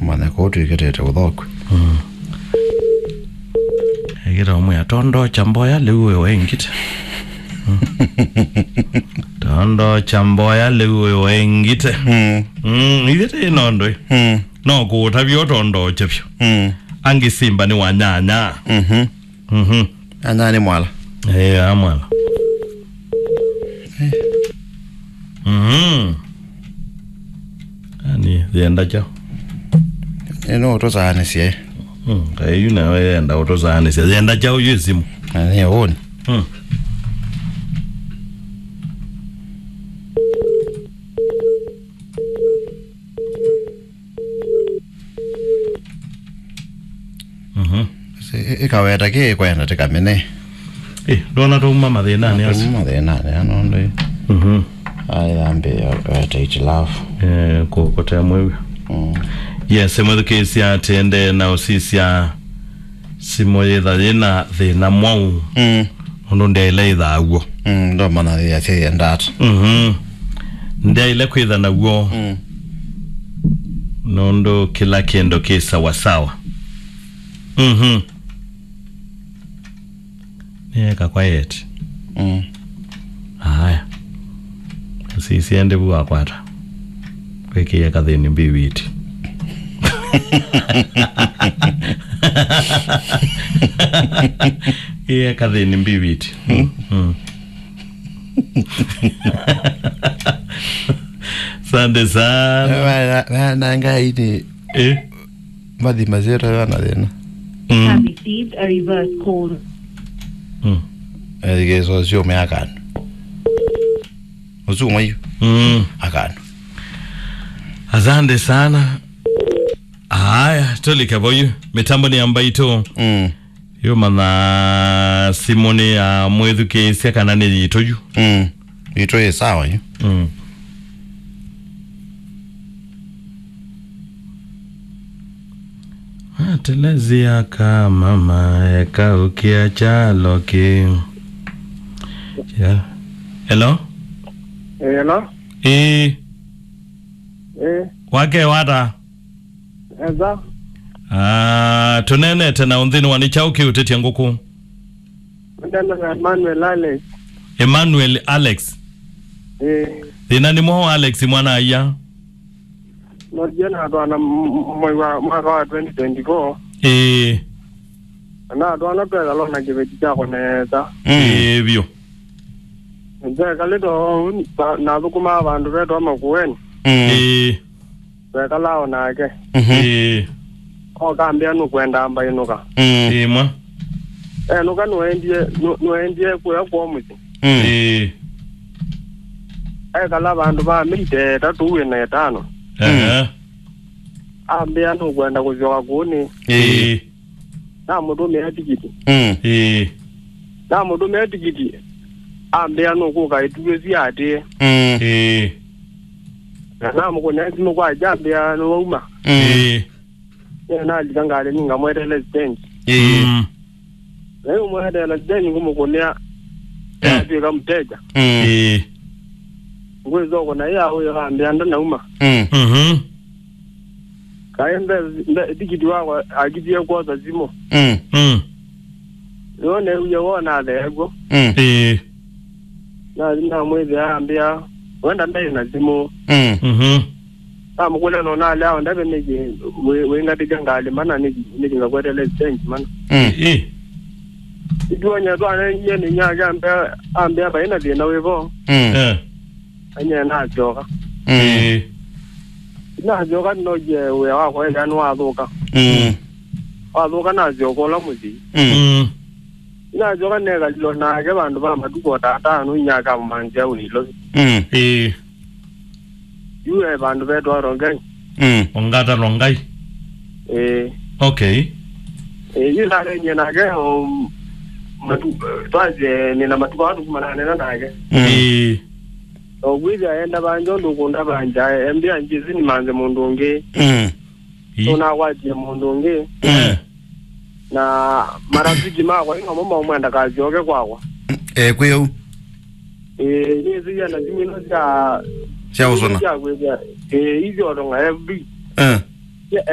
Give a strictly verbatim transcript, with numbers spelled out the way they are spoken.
Manya kũu twĩkĩtĩte ũthokwe. Mm. Ekĩta ũmwe, "Tondo cha mboya lĩu ũyũ waingĩte." Mm. "Tondo cha mboya lĩu ũyũ waingĩte." Mm. Mm, ithe tĩ nondo ĩ. Mm. No kũũtavya ũtondo cha vyũ. Mm. Angĩ simba nĩ wanyanya. Mhm. Mhm. Anya nĩ mwala. Eh, a mwala. Eh. Mhm. Ani, yenda chao. Eno utosaanĩsye. Mm, kayu nawe yenda utosaanĩsye. Yenda chao yu simu. Ani, oni. Mm. Mhm. Ĩ-, ĩkaweta kĩ ĩkwenda tĩkamene. Ĩ, ndona twauma mathĩnanĩ asu. Twauma mathĩnanĩ, ano ndĩ. Mhm. Aĩ, ambĩĩa weta itilafu. Eh, kũ-, kũtea mwĩw'o. Mm. Yes, mwĩthukĩĩsya atĩ ndee na ũsisya simũ yĩtha yĩna thĩna mwaũ. Mm. Ũndũ ndyaĩle ĩthaa w'o. Mm, ndomana yĩasya yenda ata. Mhm. Ndyaĩle kwĩtha naw'o. Mm. Nũndũ kĩla kĩndũ kĩ sawasawa. Mhm. Nĩeka quiet. Mm. Aya. Sisi ende vu akwata. Kwĩkĩĩa kathĩni mbiwiti. Ĩe kathĩni mbiwiti. Mm. Mm. Asante sana. Wana, wana ngai ni Eh? Mathi masyĩtwa vana thĩna. Mm. Have received a reverse call. Mm. Ethikĩĩsya ũsu ũme akanu. Ũsu ũmwe yu. Mm. Akanu. Asante sana. Aya, tũlike voyu. Mĩtambo nĩ ya mbaitũ. Mm. Yu mana simũ nĩ ya mwĩthukĩĩsya kana nĩ yitũ yu. Mm. Yitũ yĩ sawa yu. Mm. Atelezia ka mama ekaũkĩa kyalo kĩ. Yeah. Hello? Eh, hello? Ĩĩ. Eh. Wake wata? Eza. Ah, tũneenete na ũnthĩnĩ wa nĩ kyaũ kĩũtĩtye ngũkũ? Ndana na Emmanuel Alex. Emmanuel Alex. Eh. Thĩna nĩ mwaũ Alex mwana aya? Nothiĩ natwaana m-, m-, mwei wa, mwaka wa twenty twenty-four. Ĩĩ. Na natwaana twekala na kĩveti kyakwa nesa. Mm. Ĩĩ, vyũ. Twekalĩte ũu, na, nathũkũmaa vandũ vetwa Makueni. Mm. Ĩĩ. Twekalaa o nake. Mhm. Ĩĩ. Oka ambĩa nũkwenda mbainũka. Mm. Ĩĩ, mwa. Enũka nũendie, nũ-, nũendie kũya kwoo mũsyĩ. Mm. Ĩĩ. Ekala vandũ va mĩi ta ĩtatũ wĩ na ĩtano. Ehe. Ambĩa nũkwenda kũsyoka kũnĩ. Ĩĩ. Namũtũmĩa tikiti. Mm. Ĩĩ. Namũtũmĩa tikiti. Ambĩa nũkũka ĩtuĩ siatĩe. Mm. Ĩĩ. Na namũkũnĩa simũ kwa ambĩa nĩwauma. Mm. Ĩĩ. Nalika ngalĩ nĩ ngamwetele stage. Ĩĩ. Mm. Na yu mweteela stage ngũmũkũnĩa. Eh. Atwĩka mteja. Mm. Ĩĩ. Ngwĩsoko na ĩya ũyo ambĩa ndanauma. Mm. Mhm. Kaĩ mbe, mbe, tikiti wakwa akitie kwosa simũ. Mm. Mm. Nĩyo neewie wona atheew'o. Mm. Ĩĩ. Na, namwĩthĩa ambĩa, "Wenda ndaĩ na simũ." Mm. Mhm. Namũkũlya no nalea o ndave nĩkĩ wĩ-, wĩngatĩkya ngalĩ mana nĩkĩ, nĩkĩ ngakwetele stage mana. Mm. Ĩĩ. Ituonye twanengie nĩ nyake ambĩa, ambĩa vai na thĩna wĩvo. Mm. Eh. Anye nasyoka. Mm. Ĩĩ. Nasyoka nĩnokie wĩa wakwa ethĩa nĩwathũka. Mm. Wathũka nasyoka ũla mũsyĩ. Mm. Mm. Nasyoka nekalilwa nake vandũ va matukũ o ta atano inyaka mũmanzia ũilovi. Mm. Ĩĩ. Yu e vandũ vetwa Rongai. Mm. Ongata Rongai. Ĩĩ. Okay. Ĩĩ, yu narenie nake o matu-, twasye nĩna matukũ aa tũkumananena nake. Mm. Ĩĩ. O kwĩthĩa enda vanja ũndũ ũkũnda vanja, embĩa njĩsĩ nĩmanze mũndũ ũngĩ. Mm. Ĩĩ. Ũnakwatie mũndũ ũngĩ. Mm. Na marafiki makwa inomo maumwenda kasyoke kwakwa. Eh, kwĩ ũu. Ĩĩ, nĩsĩia na simũ ino sya sya ũsũna. Sya kwĩthĩa. Ĩĩ, isyotong'a F B. Eh. Sya